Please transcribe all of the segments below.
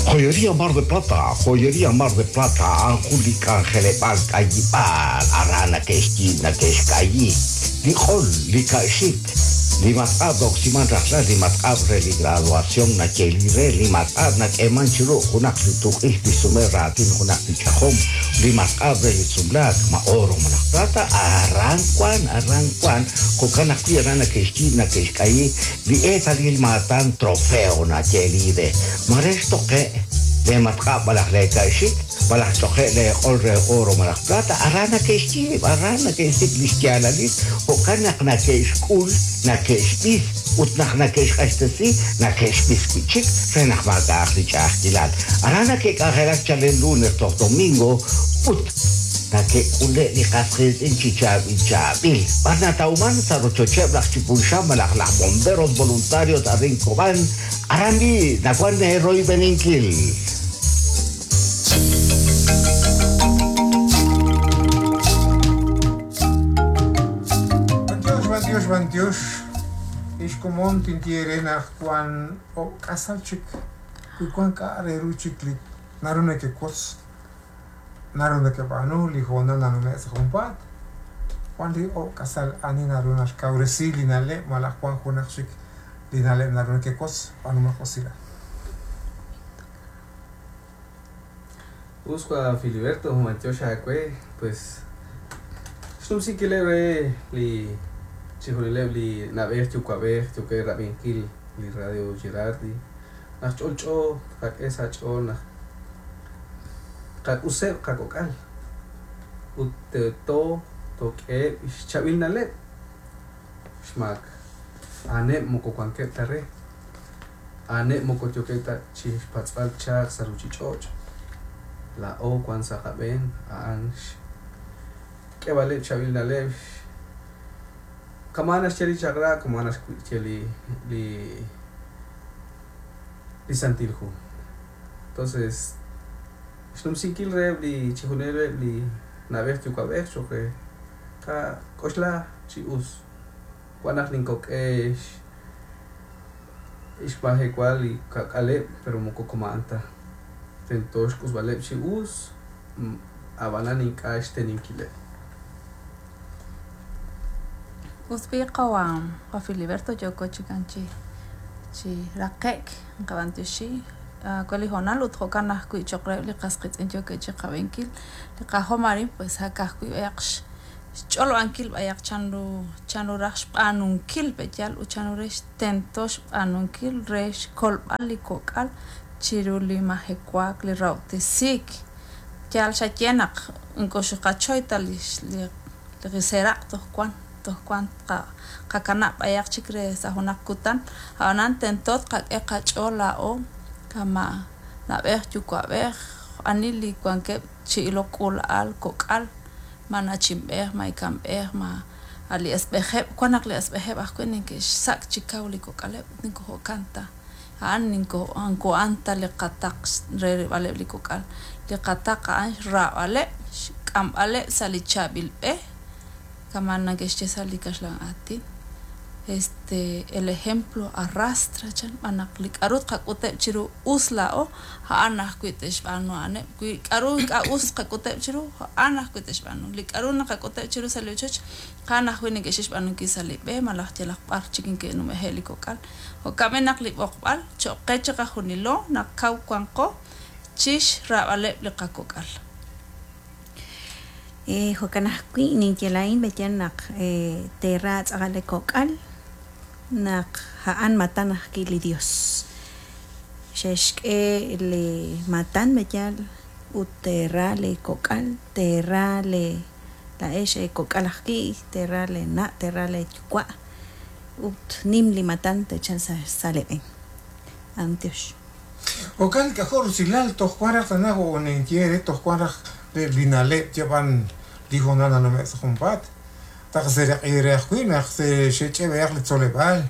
Joyería Mar de Plata, Joyería Mar de Plata a'an jun li k'anjeleb'aal k'ayib'aal aran nake'xyiib' nake'xk'ayi li q'ol, li ka'xik, li matq'ab' na'oksiman rajlal, li matq'ab' re li graduación nayeeli re, li matq'ab' nak'eeman chi ru junaq li tuq'ixq li xsume raatin junaq li ch'ajom, li matq'ab' re li sumlaak, ma oro malaj plata, aran wan, aran wan, jo'kan ajwi' aran nake'xyiib' nake'xk'ayi li eetalil maatan trofeo nayeeli re. Ma re xtoqe' lee matq'ab' malaj lee ka'xik, malaj xtoqe' lee q'ol re oro malaj plata, aran nake'xyiib', aran nake'xsik' li xyaalalil, jo'kan naq nake'xk'ul, nake'xb'is, ut naq nake'xq'axtesi, nake'xb'is wi' chik re naq maak'a'aq li ch'a'ajkilal. Aran nake'k'anjelak chalen lunes toj domingo ut nake'k'ule' li qas qiitz'in chi chaab'il chaab'il. B'ar natawman? Sa' rochocheb' laj Chipulxam malaj laj Bomberos Voluntarios arin Cobán, aran b'i' nawan eeroyb'eninkil. B'antiox, b'antiox, b'antiox. Ex komon tinye eere naq wan ob' k'asal chik wi wan k'a' re ru chik li naru nekewotz, naru nekeb'aanu li hoonal nanume' sa' junpaat. Wan li ob' k'asal ani naru naxkawresi li na'leb' malaj wan junaq chik li na'leb' naru nekewotz, b'aanumaq usilal. Us wa Filiberto, b'antiox aawe, pues xnumsinkileb' re li chixjunileb' li na'b'ej yuwa'b'ej yookeb' rab'inkil li Radio Girardi naq ch'olch'o tqak'e sa' ch'ool naq tqak'useb' qakok'al ut tento took'eheb' xchaab'il na'leb' xmaak a'aneb' moko wankeb' ta re a'aneb' moko yookeb' ta chi xpatz'b'al chaq sa' ruuchich'och'. Laa'o wan sa' qab'een a'an xk'eeb'aleb' chaab'il na'leb' kama' naxye li chaq'rab', kama' naxye li li li Santil Hu. Entonces xnumsinkil reheb' li chixjunileb' li na'b'ej yuwa'b'ej cho'q re qak'oxla chi us. Wan naq ninkok'e xmajewa li kak'aleb' pero moko kama'an ta. Tento xk'usb'aleb' chi us, ab'anan ink'a' xteninkileb'. Us b'i' qawa' wa Filiberto yooko chikan chi chi raqe'k nqab'antioxi we li hoonal ut jo'kan ajwi' cho'q reheb' li qas qiitz'in yookeb' chiqab'inkil li qajom arin pues ak ajwi' b'ayaq xch'olob'ankil b'ayaq chanru chanru raj xb'aanunkil pe'yaal ut chanru re tento xb'aanunkil re xkolb'al li kok'al chiru li majewaak li rahob'tesiik yaal xaye naq nkoxqachoy ta li li riseraq' toj wan toj wan qakanab' b'ayaq chik re sa' junaq kutan a'anan tento tqak'e qach'ool laa'o kama' na'b'ej yuwa'b'ej ani li wankeb' chi ilok k'uula'al kok'al ma nachinb'ej ma ikanb'ej ma a' li asb'ejeb' wan naq li asb'ejeb' ajwi' neke'xsak' chi kaw li kok'aleb' ninko jo'kan ta a'an ninko nko'an ta li qataq re rilb'aleb' li kok'al li qataq a'an xraab'aleb' xk'amb'aleb' sa' li chaab'il b'e kama' neke'xye sa' li kaxlan aatin este el ejemplo arrastra chan b'an naq li k'a'ru tqak'uteb' chiru us laa'o a'an ajwi' te'xb'aanu a'aneb' wi k'a'ru ink'a' us tqak'uteb' chiru a'an ajwi' te'xb'aanu li k'a'ru naqak'uteb' chiru sa' li ochoch a'an ajwi' neke'xik xb'aanunkil sa' li b'e malaj yalaq b'ar chik neke'numeje' li kok'al jo'kan b'i' naq li b'oqb'al cho'q qe chiqajunilo naq kaw wanqo chixraab'aleb' li qakok'al. Jo'kan ajwi' ninye laa'in b'eyan naq teera tz'aqal li kok'al naq a'an matan ajwi' li Dios. Xe'xk'e li matan b'eyal ut teera li kok'al, teera li laa'ex kok'al ajwi', teera li na', teera li yuwa' ut nim li matan techal sa' li b'een. B'antiox. Jo'kan k'ajo' rusilal toj wan raj tana jo' ninye re toj wan raj li na'leb' yab'an li hoonal nanume' sa' junpaat. Taq seeraq'i re ajwi' naq xe'ch'eb'ehaq li tzoleb'aal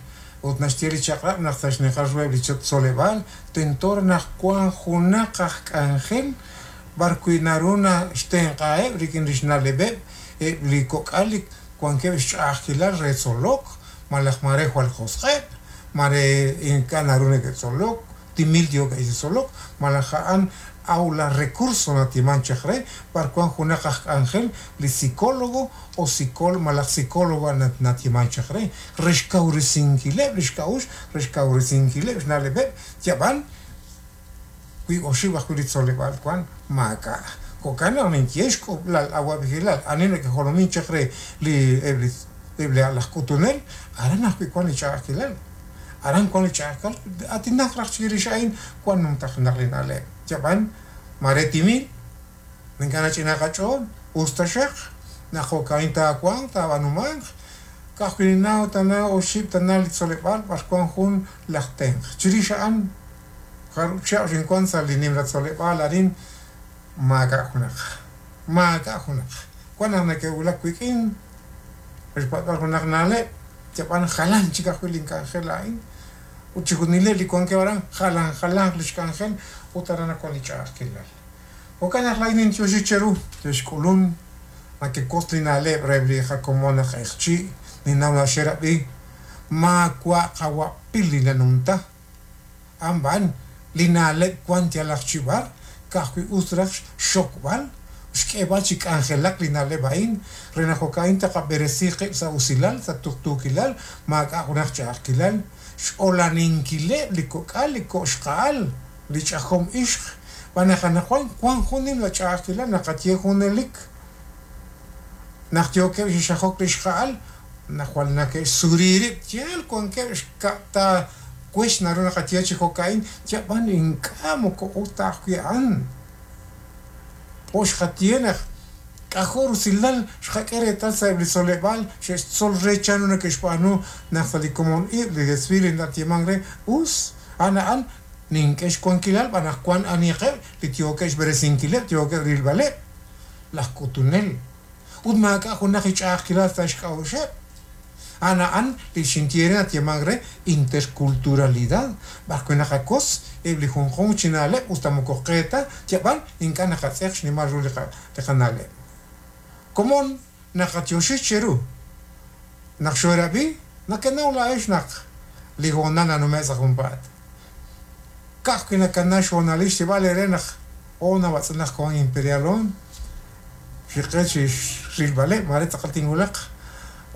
ut naxye li chaq'rab' naq sa' xninqal ruheb' li tzoleb'aal tento naq wan junaq aj k'anjel b'ar wi' naru naxtenq'aheb' rik'in li xna'leb'eb' eb' li kok'al li wankeb' xch'a'ajkilal re tzolok malaj mare jwal josq'eb', mare ink'a' naru neke'tzolok. Timil yookeb' chi tzolok malaj a'an aula recurso natiman chaq re b'ar wan junaq aj k'anjel li psicólogo o psicólogo malaj psicóloga natiman chaq re re xkawresinkileb' li xk'a'uxl re xkawresinkileb' xna'leb'eb' yab'an wi oxib' ajwi' li tzoleb'aal wan maak'a' jo'kan naq ninye xk'ub'lal awa'b'ejilal ani nakejolomin chaq re li eb' li eb' li laj k'utunel aran ajwi' wan li ch'a'ajkilal aran wan li ch'a'ajkilal atinaq raj chirix a'in wan numtajenaq li na'leb' yab'an mare timil ink'a' nach'ina qach'ool us taxaq naq jo'ka'in taawanq taab'aanumanq ka'ajwi' ninnaw tana oxib' tana li tzoleb'aal b'ar wan jun laj tenq' chirix a'an jarub' chihab' xinwan sa' li nimla tzoleb'aal arin maak'a' junaq maak'a' junaq wan naq neke'wulak wik'in xpat'b'al junaq na'leb' yab'an jalan chik ajwi' link'anjel a'in ut chixjunileb' li wankeb' aran jalan jalanq li xk'anjel ut aran wan li ch'a'ajkilal jo'kan naq laa'in nintioxi cheru xe'xk'ulun nakekotz li na'leb' re li qakomon naq q'eqchi' ninnaw naq xerab'i maawa' qawa'pil li nanumta anb'an li na'leb' wan yalaq chi b'ar ka'ajwi' us raj xxokb'al xk'eeb'al chi k'anjelak li na'leb' a'in re naq jo'ka'in taqab'eresi qib' sa' usilal sa' tuqtuukilal maak'a' junaq ch'a'ajkilal x'olaninkileb' li kok'al li ko'xqa'al li ch'ajom ixq b'an naq anaqwan wan jun nimla ch'a'ajkilal naqaye junelik naq yookeb' chi xajok li xqa'al naq jwal nake'xsuri rib' yaal wankeb' xka'ta wex naru naqaye chi jo'ka'in yab'an ink'a' moko us ta ajwi' a'an jo' xqaye naq k'ajo' rusilal xqak'e reetal sa' eb' li tzoleb'aal xe'xtzol re chanru nake'xb'aanu naq sa' li komon ib' li desfile natieman re us a'an a'an nink'e xwankilal b'an naq wan aniqeb' li yookeb' xb'eresinkileb' yookeb' rilb'aleb' laj k'utunel ut maak'a' junaq li ch'a'ajkilal sa' xk'a'uxeb' a'an a'an li xinye re natieman re interculturalidad b'ar wi' naqakos eb' li junjunq chi na'leb' us ta moko qe ta yab'an ink'a' naqatz'eq xnimal ru li qana'leb' komon naqatioxi cheru naq xoorab'i nakenaw laa'ex naq li hoonal nanume' sa' junpaat ka'ajwi' nakana xhoonalil xyeeb'al eere naq oh nawatz'inaq koon Imperial on xiqe chi rilb'aleb' mare tz'aqal tinwulaq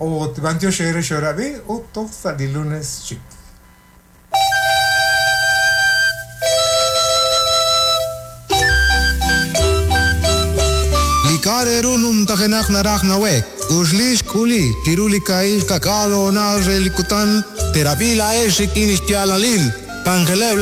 ut b'antiox eere xoorab'i ut toj sa' li lunes chik. Li k'a' re ru numtajenaq naraj nawek uxli xk'uli chiru li ka'il kak'aal hoonal re li kutan terab'i laa'ex rik'in xyaalalil k'anjeleb'